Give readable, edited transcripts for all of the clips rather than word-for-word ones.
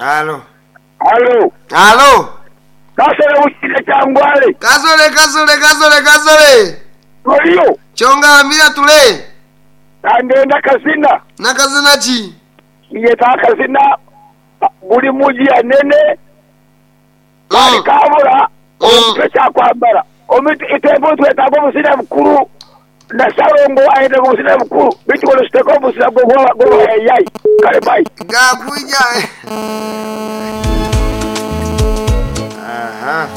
Alo. Alo. Alo. Kasole Bukiika Kyangwale. Kasole kasole kasole kasole. Oliyo? Kyongambira tule. Kandenda kazina. Nakazina ki? Ninyeta akazina Guli muji anene Kali kabura omuntu ekyakwambara. Omuntu itwembi nitwetaaga obuzina bukuru na Ssalongo ayetaaga obuzina bukuru beitu kono siteka obuzina bw'obuhayayai. Kale bye. Gakwija. Aha.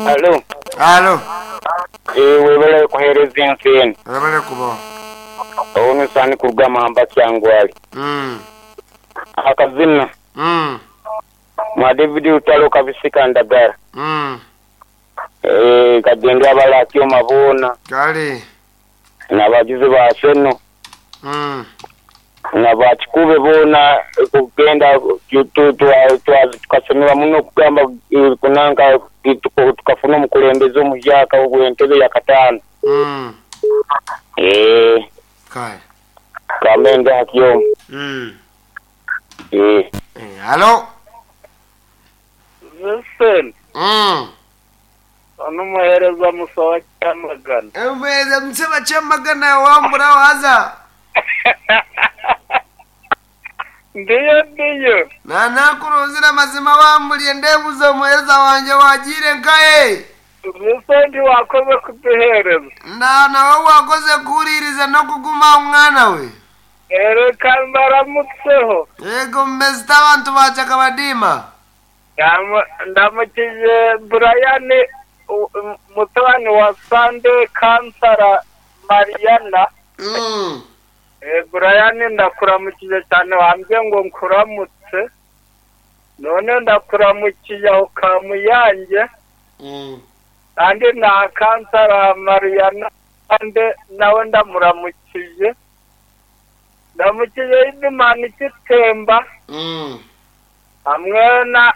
Alo. Alo. Eeh webale kuhereza ensi eno. Webale kuba. Ono Sani kuruga Mamba Kyangwali. Akazina. Mwa David Lutalo Kabisika Ndagara. Eeh kagende abali Akyoma boona. Kale. Nabagizi ba Arsenal. Na ba Kikube boona kugenda tukasemerwa muno okugamba kunanka tukafuna omukulembeze omuhyaka ow'entebe yakataano. Eeh. Kale. Kamende Akyoma. Eeh. Alo. Vincent. Onu muhereza musa wa Kyamagana. Omuhereza musa wa Kyamagana wambura waza. Ndiyo ndiyo. Nanakurunzire amazima wamburiye ndebuza omuhereza wangye wagiire nkahe? Vincent wakoze kuduhereza. Na nawe wakoze kuhuririza n'okuguma mwana we. Reka mbaramutseho. Yego mumezita abantu ba Kyakabadiima. Ndamukije Brian mutabani wa Sunday Kansara Mariana. Brian ndakuramukije cyane wambwiye ngo nkuramutse. None ndakuramukije aho Kamuyange. Kandi na Kansara Mariana kandi nawe ndamuramukije. Ndamukije Idimani Kitemba. Hamwe na